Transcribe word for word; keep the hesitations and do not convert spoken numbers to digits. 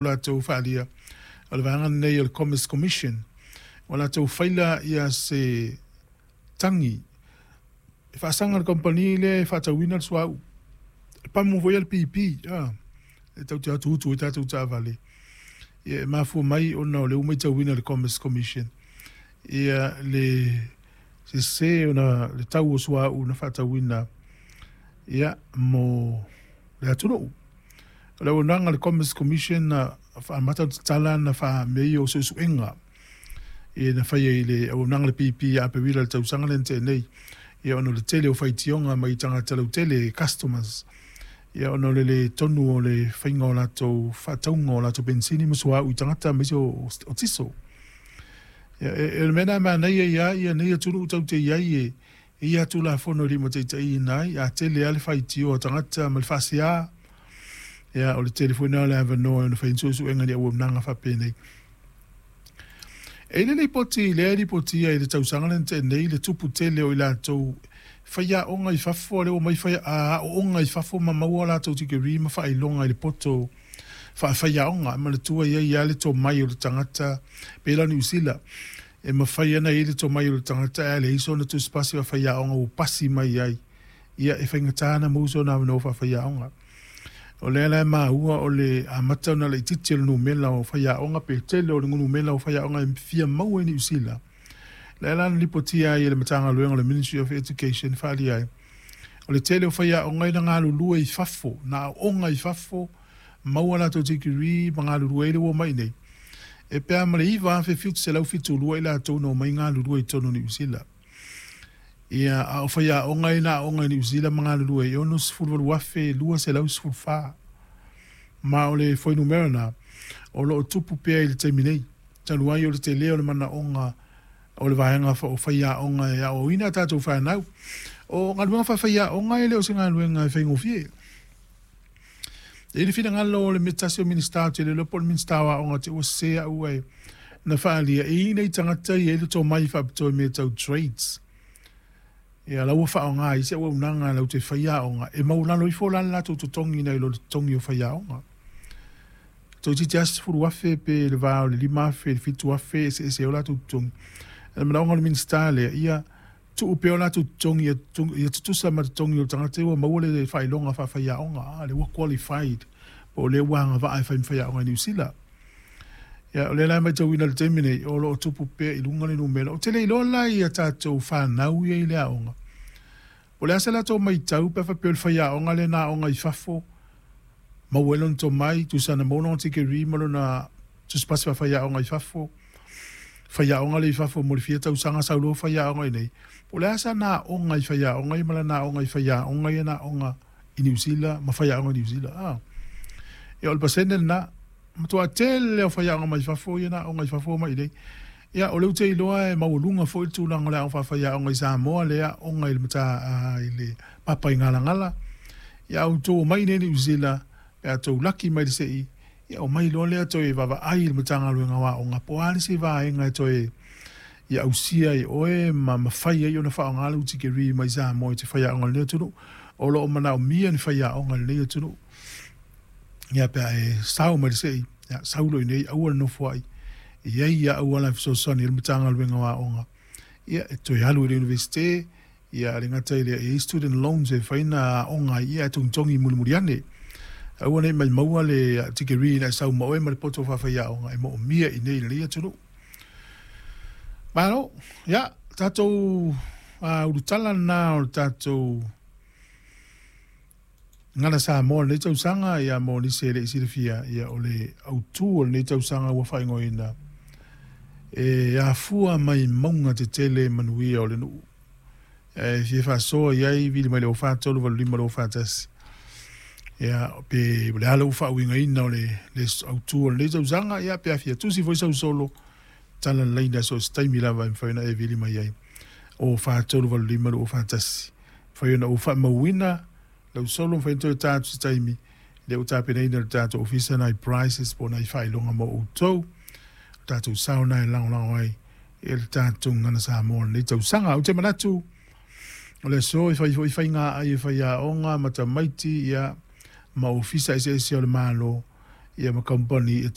Latou faaalia o le vaega lenei o le Commerce Commission ua latou faila ia se tagi e faasaga i le kamupani lea e faatauina le suauu, le pamu foi a le B P e tatou te o atu utu ai tatou taavale. Ia e mafua mai ona o lea ua matauina e le Commerce Commission ia le sese ona le tau o suauu na faatauina ia mo le atunuu. O le auaunaga a le Commerce Commission na faamata tatala na faamea ia o suesuega ia na faia i le auaunaga a le B P ia Aperila i le tausaga lea na tea nei, ia ona o le tele o faitioga mai tagata lautele, customers, ia ona o le le tonu o le faiga o latou faatauga o latou penisini ma suauu i tagata aemaise o, o tiso. Ia, e, e le mea lena e manaia ia ia nei atunuu tatou te i ai e e i ai Tulafono e limataitaiina ai, a tele lava le faitio a tagata ma le faasea, ia o le tele foi lena o le avanoa e ono fai ai ni suesuega i ni auaunaga faapenei. E i ai le lipoti lea e lipotia i le tausaga lea na tea nei le tupu tele o i latou faiaoga i fafo, lea ua omai fai aooga i fafo ma maua latou tikeri ma faailoga i le poto faafaiaoga. E manatua e i ai lava le tomai o le tagata, pei la o Niu Sila, e mafai ona i ai le tomai o le tagata ae leai sona tusipasi faafaiaoga ua pasi mai ai, ia e faigata ona maua sona avanoa faafaiaoga. O lea la e maua o le amata ona laitiiti o le numera o faiaoga pe tele o le numera o faiaoga e fia maua i Niu Sila. Lea la na lipotia ai e le Matagaluega o le Ministry of Education faaalia ai, o le tele o faiaoga ia na galulue i fafo, na aooga i fafo, maua latou tikeri ma galulue ai le ua omai i inei, e pe a ma le iva afe fitu selau fitu lua i latou na omai galulue i totonu o Niu Sila. Ia, a o faiaoga ia na aooga i Niu Sila ma galulue ai, e onosefulu valu afe lua selau sefulu fa. Ma o le fuainumera na, o lo o tupu pea i le taimi nei, talu ai o le tele o le manaoga o le vaega o faiaoga e aoaoina a tatou fanau. O galuega faafaiaoga e le o se galuega e faigofie. E i ai le finagalo o le tasi o Minisita, ou te le iloa po o le Minisita o Aoga te i ua sese au ae na faaalia, e i ai nai tagata e i ai le tomai faapitoa i mea tau trades. Ia la ua faaaoga ai se auaunaga latou te faia aoga, e maualalo ifo la le latou totogi nai lo le totogi o faiaoga. Toeitiiti lava sefulu afe pe le va o le lima afe i le fitu afe e eseese ai o latou totogi. O le manaoga o le Minisita lea, ia tuu pea o latou totogi ia tutusa ma totogi o tagata ia ua maua le faailoga faafaiaoga, lea ua qualified, po o lea ua agavaa e fai ma faiaoga i Niu Sila. Ia, o lea la e matauina i le taimi nei, o lo o tupu pea i luga le numera. Ou te le iloa la i a tatou fanau ia i le aoga, o le a se latou matau pe a faapea o le faiaoga lea na aoga i fafo, maua ai lona tomai, tusa na maua lona tikeri ma lona tusipasi faafaiaoga i fafo, faiaoga lea i fafo mo le fia tausaga, sau loa faiaoga i inei. Po o le a sana aoga i faiaoga ia ma lana aoga i faiaoga ia na aoga i Niu Sila ma faiaoga i Niu Sila. Ah. Ia o le pasene lena, matua tele o faiaoga mai fafo ia na aoga i fafo mai i inei. Ia o lea ou te iloa e maualuga foi le tulaga o le aoga faafaiaoga i Samoa, lea aoga i le mata i le papa i Galagala. Ia a outou omai i inei i Niu Sila, pe a tou laki mai le sei, ia omai loa lea toe vaavaai i le Matagaluega o Aoga, po o a le isi vaega e toe ia ausia ai oe ma mafai ai ona faaaoga lau tikeri mai Samoa i te faiaoga i lenei atunuu. O lo o manaomia ni faiaoga i lenei atunuu. Ia pe a e sao mai le sei, ia sau loa i inei, aua le nofoai. E i ai ia auala e fesoasoani ai le Matagaluega o Aoga, ia e toe alu i le Iunivesite, ia le gata i lea, e i ai student loans e fai na aoga ai, ia e togitogi mulimuli ane. Aua ne i maua le tikeri ina e sau ma oe ma le poto faafaiaoga e moomia i inei i lenei atunuu. Malo, ia, tatou uh, ulutala lena o le tatou Gagana Samoa lenei tausaga, ia mo nisi e le i silafia, ia o le autu o lenei tausaga ua faaigoaina e afua mai mauga tetele manuia o le nuu. E fia faasoa i ai vili mai le o fa tolu valu lima lo fa tasi. Ia pe o le a lau faauigaina o le, le autu o lenei tausaga, ia pe a fia tusi foi sau solo, tala le laina so o se taimi lava e mafai ona e vili mai ai. O fa tolu valu lima lo fa tasi. Mafai ona ou faamauina lau solo, mafai ona toe ta atu se taimi, lea ua tapenaina e le tatou ofisa nai prizes po o nai faailoga mo outou. O tatou sao na e lagolago ai e le tatou Gagana Samoa lenei tausaga. Ou te manatu o le aso e fai foi faiga ai e faiaoga ma tamaiti ia ma ofisa eseese o le Malo ia ma kamupani e